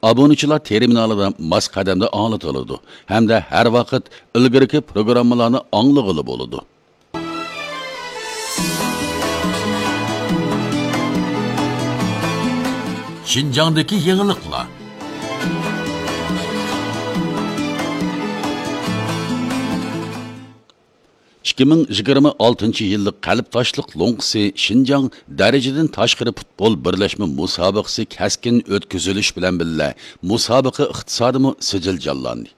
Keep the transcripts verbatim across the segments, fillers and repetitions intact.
ئابۇنىچىلار تېرمىنالىدا ماس قەدەمدە ئاڭلىتىلىدۇ ھەمدە ھەر ۋاقىت ئىلگىرىكى پروگراممىلارنى ئاڭلىغىلى بولىدۇ. شىنجاڭدىكى يېڭىلىقلار. ئىككى مىڭ يىگىرمە ئالتىنچى يىللىق قەلب تاشلىق لوڭقىسى شىنجاڭ دەرىجىدىن تاشقىرى پۇتبول بىرلەشمە مۇسابىقىسى كەسكىن ئۆتكۈزۈلۈش بىلەن بىللە، مۇسابىقە ئىقتىسادىمۇ سىجىل جانلاندى.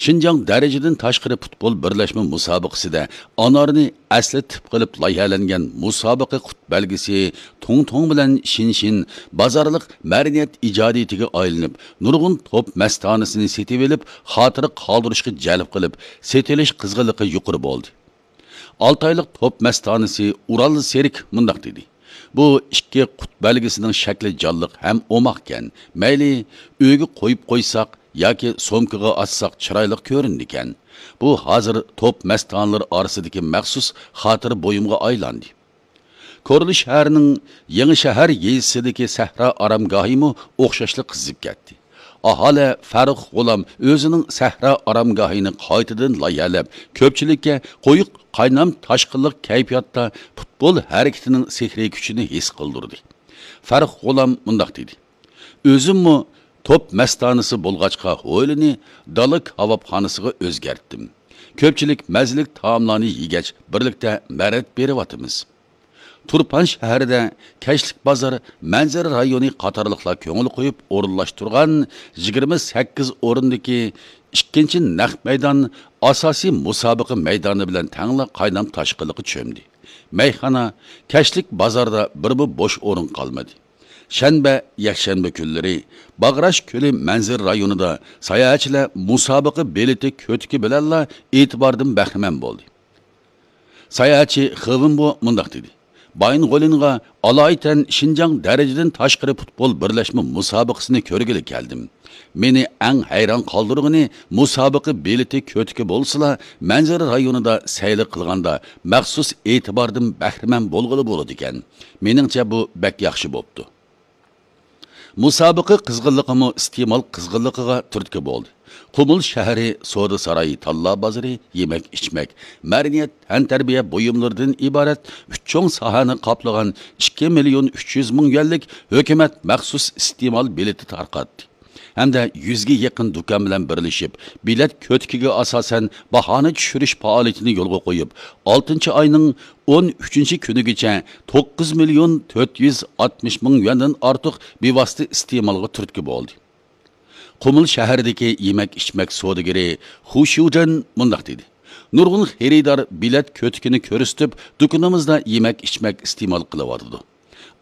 شىنجاڭ دەرىجىدىن تاشقىرى پۇتبول بىرلەشمە مۇسابىقىسىدە ئانارنى ئەسلى تىپ قىلىپ لايىھەلەنگەن مۇسابىقە قۇت بەلگىسى توڭ توڭ بىلەن شىن شىن بازارلىق مەدەنىيەت ئىجادىيىتىگە ئايلىنىپ، نۇرغۇن توپ مەستانىسىنى سېتىۋېلىپ، خاتىرە قالدۇرۇشقا جەلپ قىلىپ، سېتىلىش قىزغىنلىقى يۇقىرى بولدى. ئالتايلىق توپ مەستانىسى ئۇرال سېرىك مۇنداق دېدى: «بۇ ئىككى قۇت بەلگىسىنىڭ شەكلى جانلىق ھەم ئوماقكەن. مەيلى ئۆيگە قويۇپ قويساق ياكى سومكىغا ئاتساق چىرايلىق كۆرۈنىدىكەن. بۇ ھازىر توپ مەستانىلىرى ئارىسىدىكى مەخسۇس خاتىرە بۇيۇمغا ئايلاندى.» كورلا شەھىرىنىڭ يېڭى شەھەر يېزىسىدىكى سەھرا ئارامگاھىمۇ ئوخشاشلا قىزىپ كەتتى. ئاھالە فەرۇق غۇلام ئۆزىنىڭ سەھرا ئارامگاھىنى قايتىدىن لايىھەلەپ، كۆپچىلىككە قويۇق قاينام تاشقىنلىق كەيپىياتتا پۇتبول ھەرىكىتىنىڭ سېھرىي كۈچىنى ھېس قىلدۇردى. فەرۇق غۇلام مۇنداق دېدى: «ئۆزۈممۇ توپ مەستانىسى بولغاچقا، ھويلىنى دالا كاۋاپخانىسىغا ئۆزگەرتتىم. كۆپچىلىك مەززىلىك تائاملارنى يېگەچ، بىرلىكتە مەرەت بېرىۋاتىمىز.» تۇرپان شەھىرىدە كەچلىك بازار، مەنزىرە رايونى قاتارلىقلار كۆڭۈل قويۇپ ئورۇنلاشتۇرغان يىگىرمە سەككىز ئورۇندىكى ئىككىنچى نەق مەيدان ئاساسىي مۇسابىقە مەيدانى بىلەن تەڭلا قاينام تاشقىنلىققا چۆمدى. مەيخانا، كەچلىك بازاردا بىرمۇ بوش ئورۇن قالمىدى. شەنبە، يەكشەنبە كۈنلىرى باغراش كۆلى مەنزىرە رايونىدا ساياھەتچىلەر مۇسابىقە بېلىتى كۆتىكى بىلەنلا ئېتىباردىن بەھرىمەن بولدى. ساياھەتچى خېۋېنبو مۇنداق دېدى: «بايىنغولىنغا ئالايىتەن شىنجاڭ دەرىجىدىن تاشقىرى پۇتبول بىرلەشمە مۇسابىقىسىنى كۆرگىلى كەلدىم. مېنى ئەڭ ھەيران قالدۇرغىنى، مۇسابىقە بېلىتى كۆتىكى بولسىلا، مەنزىرە رايونىدا سەيلە قىلغاندا مەخسۇس ئېتىباردىن بەھرىمەن بولغىلى بولىدىكەن. مېنىڭچە، بۇ بەك ياخشى بوپتۇ.» مۇسابىقە قىزغىنلىقىمۇ ئىستېمال قىزغىنلىقىغا تۈرتكە بولدى. قۇمۇل شەھىرى سودا سارايى، تاللا بازىرى، يېمەك-ئىچمەك، مەدەنىيەت، تەنتەربىيە بۇيۇملىرىدىن ئىبارەت ئۈچ چوڭ ساھەنى قاپلىغان ئىككى مىليون ئۈچ يۈز مىڭ يۈەنلىك ھۆكۈمەت مەخسۇس ئىستېمال بېلىتى تارقاتتى ھەمدە يۈزگە يېقىن دۇكان بىلەن بىرلىشىپ، بېلەت كۆتىكىگە ئاساسەن باھانى چۈشۈرۈش پائالىيىتىنى يولغا قويۇپ، ئالتىنچى ئاينىڭ ئون ئۈچىنچى كۈنىگىچە توققۇز مىليون تۆت يۈز ئاتمىش مىڭ يۈەندىن ئارتۇق بىۋاسىتە ئىستېمالغا تۈرتكە بولدى. قۇمۇل شەھىرىدىكى يېمەك-ئىچمەك سودىگىرى خۇ شيۇجەن مۇنداق دېدى: «نۇرغۇن خېرىدار بېلەت كۆتىكىنى كۆرسىتىپ، دۇكىنىمىزدا يېمەك-ئىچمەك ئىستېمال قىلىۋاتىدۇ.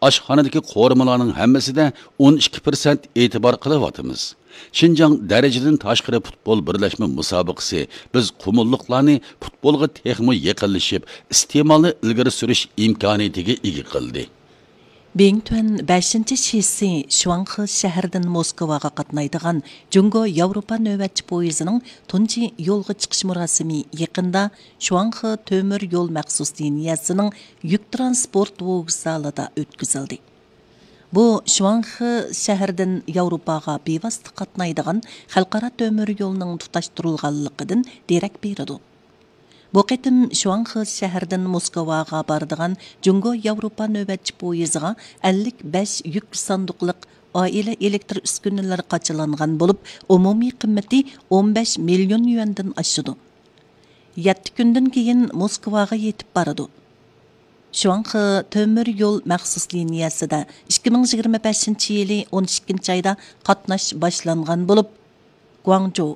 ئاشخانىدىكى قورۇمىلارنىڭ ھەممىسىدە ئون ئىككى پىرسەنت ئېتىبار قىلىۋاتىمىز. شىنجاڭ دەرىجىدىن تاشقىرى پۇتبول بىرلەشمە مۇسابىقىسى بىز قۇمۇللۇقلارنى پۇتبولغا تېخىمۇ يېقىنلىشىپ، ئىستېمالنى ئىلگىرى سۈرۈش ئىمكانىيىتىگە ئىگە قىلدى.» بىڭتۈەن بەشىنچى شىسى شۇاڭخې شەھىرىدىن موسكۋاغا قاتنايدىغان جۇڭگو ياۋروپا نۆۋەتچى پويىزىنىڭ تۇنجى يولغا چىقىش مۇراسىمى يېقىندا شۇاڭخې تۆمۈر يول مەخسۇس لىنىيەسىنىڭ يۈك تىرانسپورت ۋوگزالىدا ئۆتكۈزۈلدى. بۇ شۇاڭخې شەھىرىدىن ياۋروپاغا بىۋاسىتە قاتنايدىغان خەلقئارا تۆمۈر يولنىڭ تۇتاشتۇرۇلغانلىقىدىن دېرەك بېرىدۇ. بۇ قېتىم شۇاڭخې شەھىرىدىن موسكۋاغا بارىدىغان جۇڭگو ياۋروپا نۆۋەتچى پويىزىغا ئەللىك بەش يۈك ساندۇقلۇق ئائىلە ئېلېكتر ئۈسكۈنىلىرى قاچىلانغان بولۇپ، ئومۇمىي قىممىتى ئون بەش مىليون يۈەندىن ئاشىدۇ. يەتتە كۈندىن كېيىن موسكۋاغا يېتىپ بارىدۇ. شۇاڭخې تۆمۈر يول مەخسۇس لىنىيەسىدە ئىككى مىڭ يىگىرمە بەشىنچى يىلى ئون ئىككىنچى ئايدا قاتناش باشلانغان بولۇپ، گۇاڭجۇ،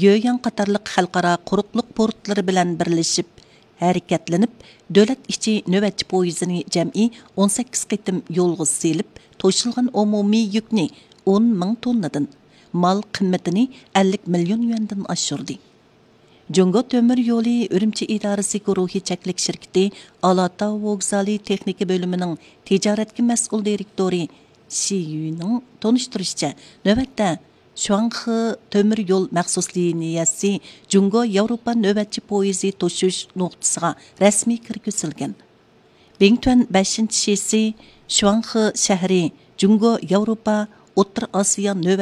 يۆيۈەن قاتارلىق خەلقئارا قۇرۇقلۇق پورتلىرى بىلەن بىرلىشىپ ھەرىكەتلىنىپ، دۆلەت ئىچى نۆۋەتچى پويىزىنى جەمئىي ئون سەككىز قېتىم يولغا سېلىپ، توشۇلغان ئومۇمىي يۈكنى ئون مىڭ توننىدىن، مال قىممىتىنى ئەللىك مىليون يۈەندىن ئاشۇردى. جۇڭگو تۆمۈر يولى ئۈرۈمچى ئىدارىسى گۇرۇھى چەكلىك شىركىتى ئالاتاۋ ۋوگزالى تېخنىكا بۆلۈمىنىڭ تىجارەتكە مەسئۇل دىرېكتورى شى يۈنىڭ تونۇشتۇرۇشىچە، نۆۋەتتە شۇاڭخې تۆمۈر يول مەخسۇس لىنىيەسى جۇڭگو ياۋروپا نۆۋەتچى پويىزى توشۇش نۇقتىسىغا رەسمىي كىرگۈزۈلگەن. بىڭتۈەن بەشىنچى شىسى شۇاڭخې شەھىرى جۇڭگو ياۋروپا ئوتتۇرا ئاسىيا نۆۋەت